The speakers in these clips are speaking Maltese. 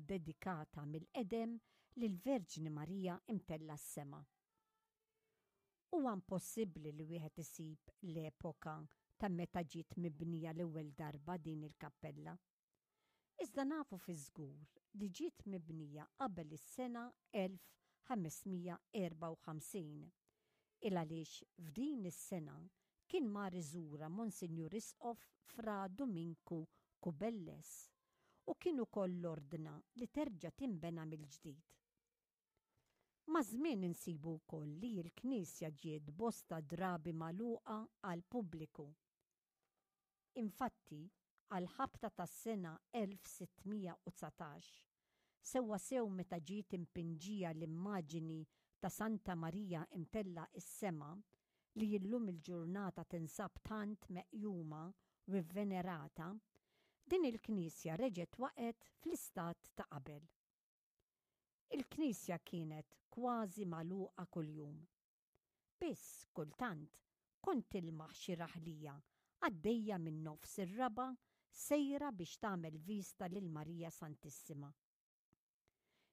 ddedikata mill-qedem lill-Verġni Marija imtellgħa s-sema. Huwa impossibbli li wieħed isib l-epoka ta' meta ġiet mibnija l-ewwel darba din il-kappella. Iżda nafu fiż-żgur li ġiet mibnija qabel is-sena 1554, il-għaliex f'din is-sena kien mar iżurha Monsinjur Isqof Fra Duminku Cubelles u kien ukoll ordna li terġa' tinbena mill-ġdid. Maż-żmien insibu wkoll li l-knisja ġiet bosta drabi magħluqa għall-pubbliku. Infatti, għall-ħabta tas-sena 1619, sewwasew meta ġiet impinġija l-immaġini ta' Santa Marija imtellgħa s-sema, li illum il-ġurnata tinsab tant meqjuma u vvenerata, din il-knisja reġgħet waqgħet fl-istat ta' qabel. Il-knisja kienet kważi magħluqa kuljum. Biss kultant kont tilmaħ xi raħlija għaddejja minn nofs ir-raba' sejra biex tagħmel vista lil Marija Santissima.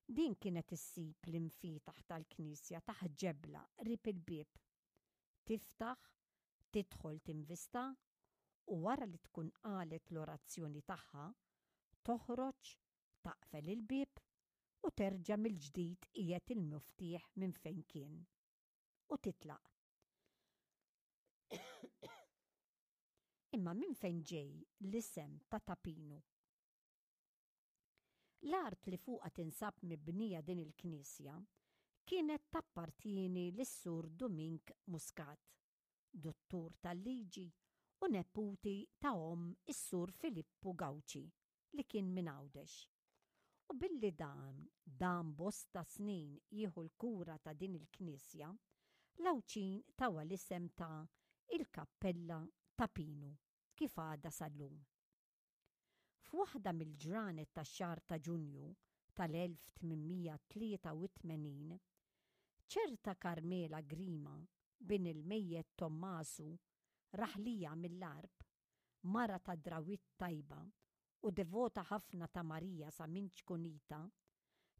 Din kienet issib l-imfietaħ tal-knisja taħt ġebla qrib il-bieb. Tiftaħ, tidħol tinvista u wara li tkun qalet l-orazzjoni tagħha, toħroġ, taqfel il-bieb u terġa' mill-ġdid tqiegħed il-muftieħ minn fejn kien. U titlaq. Imma minn fejn ġej l-isem ta' Ta' Pinu? L-art li fuqha tinsab mibnija din il-knisja kienet tappartieni lis-Sur Dumink Muscat, duttur tal-liġi u neputi ta' omm is-Sur Filippu Gauci li kien minn Għawdex. U billi dan dam bosta snin jieħu l-kura ta' din il-knisja, l-Għawdxin tawha l-isem ta' Il-Kappella ta' Pinu, kif għadha sal-lum. F'waħda mill-ġranet tax-xahar ta' Ġunju tal-1883, ċerta Carmela Grima, bin il-mejjet Tommasu, raħlija mill-Għarb, mara ta' drawwiet tajba u devota ħafna ta' Marija sa minn ċkunitha,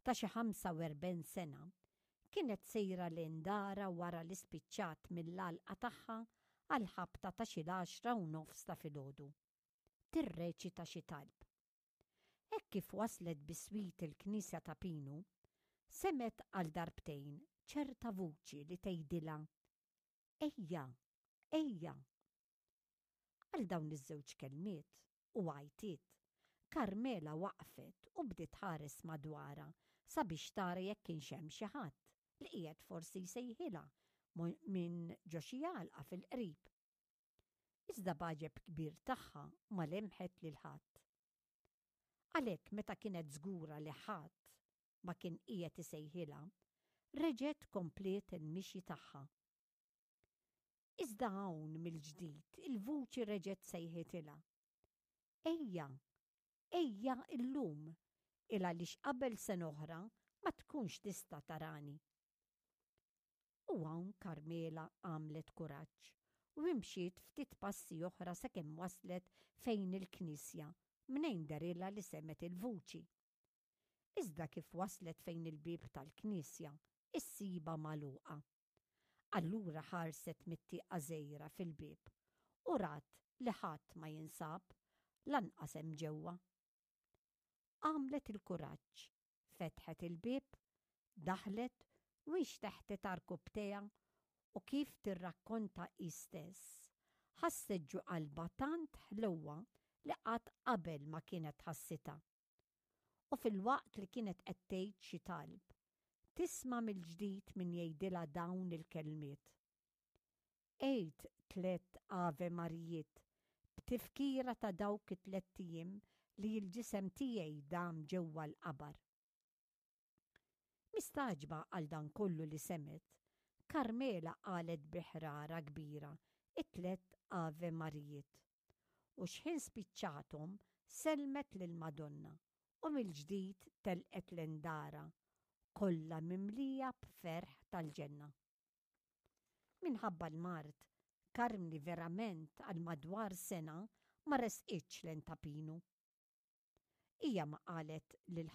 ta' xi 45 sena, kienet sejra lejn darha wara li spiċċat mill-għalqa tagħha għall-ħabta ta' xi l-għaxra u nofs ta' filgħodu. Tirreċita xi talb. Hekk kif waslet biswit il-knisja ta' Pinu, semgħet għal darbtejn ċerta vuċi li tgħidilha, Ejja! Ejja! Għal dawn iż-żewġ kelmiet u għajtiet, Carmela waqfet u bdiet tħares madwarha sabiex tara jekk kienx hemm xi ħadd li qiegħed forsi jsejħilha minn ġo xi għalqa fil-qrib. Iżda b'għaġeb kbir tagħha ma lemħet lil ħadd. Għalhekk meta kienet żgura li ħadd ma kien qiegħed isejħilha, reġgħet kompliet il-mixi tagħha. Iżda hawn mill-ġdid il-vuċi reġgħet sejħitilha. Ejja, ejja illum, il-għaliex qabel sena oħra ma tkunx tista' tarani. U hawn Carmela għamlet kuraġġ u imxiet ftit passi oħra sakemm waslet fejn il-knisja mnejn derilha li semgħet il-vuċi. Iżda kif waslet fejn il-bieb tal-knisja, issibha magħluqa. Allura ħarset mit-tieqa żgħira fil-bieb u rat li ħadd ma jinsab, lanqas hemm ġewwa. Għamlet il-kuraġġ, fetħet il-bieb, daħlet u inxteħtet għarkupptejha u kif tirrakkonta hi stess, ħasset ġo qalbha tant ħlewwa li qatt qabel ma kienet ħassitha. U filwaqt li kienet qed tgħid xi talb, tisma' mill-ġdid min jgħidilha dawn il-kelmiet, Għid tlett Ave Marijiet b'tifkira ta' dawk it-tlett ijiem li l-ġisem tiegħi dam ġewwa l-qabar. Mistagħġba għal dan kollu li semgħet, Carmela qalet bi ħrara kbira t-tlett Ave Marijiet. U x'ħin spiċċathom sellmet lill-Madonna u mill-ġdid telqet lejn darha kollha mimlija b'ferħ tal-ġenna. Minħabba l-mard, Karmni verament għal madwar sena ma resqitx lejn Ta' Pinu. Hija ma qalet lil.